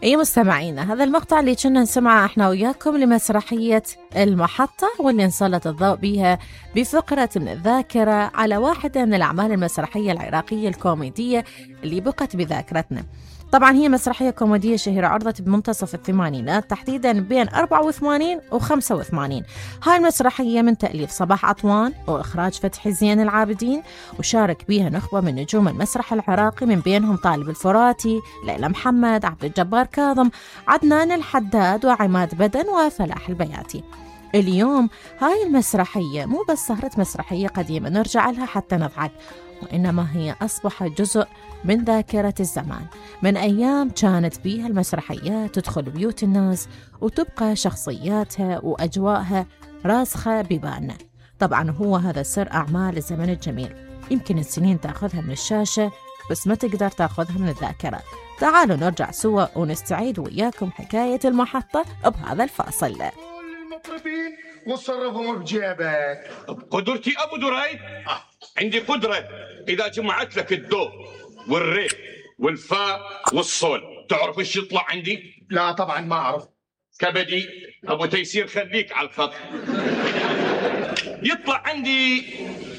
أي مستمعينا، هذا المقطع اللي كنا نسمعه احنا وياكم لمسرحية المحطة، واللي نسلط الضوء بها بفقرة من الذاكرة على واحدة من الأعمال المسرحية العراقية الكوميدية اللي بقت بذاكرتنا. طبعا هي مسرحية كوميدية شهيرة، عرضت بمنتصف الثمانينات تحديدا بين 84 و 85. هاي المسرحية من تأليف صباح عطوان وإخراج فتحي زين العابدين، وشارك بيها نخبة من نجوم المسرح العراقي، من بينهم طالب الفراتي، ليلى محمد، عبد الجبار كاظم، عدنان الحداد، وعماد بدن، وفلاح البياتي. اليوم هاي المسرحية مو بس صارت مسرحية قديمة نرجع لها حتى نضحك، وإنما هي أصبحت جزء من ذاكرة الزمان، من أيام كانت بيها المسرحيات تدخل بيوت الناس وتبقى شخصياتها وأجواءها راسخة ببالنا. طبعا هو هذا سر أعمال الزمن الجميل، يمكن السنين تأخذها من الشاشة بس ما تقدر تأخذها من الذاكرة. تعالوا نرجع سوا ونستعيد وياكم حكاية المحطة بهذا الفاصل. المطربين وصرفهم بجيبك. بقدرتي أبو دريد عندي قدرة إذا جمعت لك الدو والري والفاء والصول. تعرف ايش يطلع عندي؟ لا طبعا ما أعرف. كبدي أبو تيسير، خليك على الخط. يطلع عندي